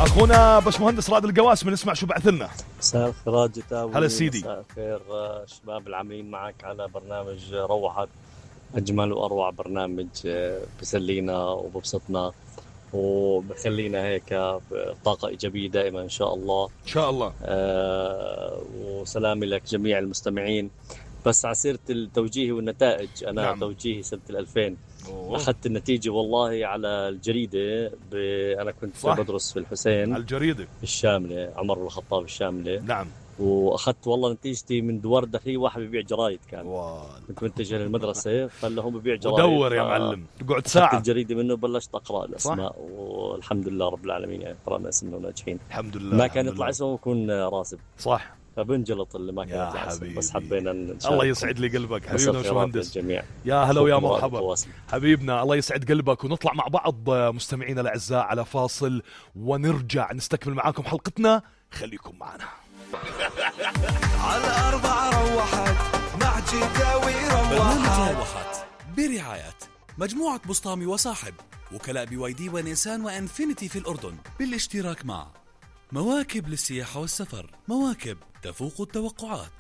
اخونا باشمهندس رائد القواسم نسمع شو بعث لنا. مساء الخير جتاوي. هلا سيدي. مساء الخير شباب العاملين معك على برنامج روحت، اجمل واروع برنامج بسلينا وببسطنا وبخلينا هيك بطاقة إيجابية دائما إن شاء الله. إن شاء الله. وسلامي لك جميع المستمعين. بس على سيرة التوجيه والنتائج، أنا نعم. توجيهي سنة 2000 أخذت النتيجة والله على الجريدة. أنا كنت صح. بدرس في الحسين على الجريدة الشاملة، عمر بن الخطاب الشاملة. نعم. واخذت والله نتيجتي من دوار داخلي، واحد ببيع جرايد كان كنت متجه للمدرسه، فله ببيع جرايد ودور يا معلم تقعد ساعه الجريده منه، بلشت اقرا الاسماء والحمد لله رب العالمين، يعني قرانا اسمنا وناجحين الحمد لله. ما كان يطلع اسمه ويكون راسب صح، فبنجلط اللي ما كان يطلع اسمه، بس حبينا الله يسعد لي قلبك حبيبنا وشمهندس. يا هلا ويا مرحبا حبيبنا، الله يسعد قلبك. ونطلع مع بعض مستمعينا الاعزاء على فاصل ونرجع نستكمل معاكم حلقتنا، خليكم معنا. على 4 روحت مع جداوي روحت برعاية مجموعة بسطامي وصاحب، وكلاء BYD ونيسان وانفينيتي في الأردن، بالاشتراك مع مواكب للسياحة والسفر، مواكب تفوق التوقعات.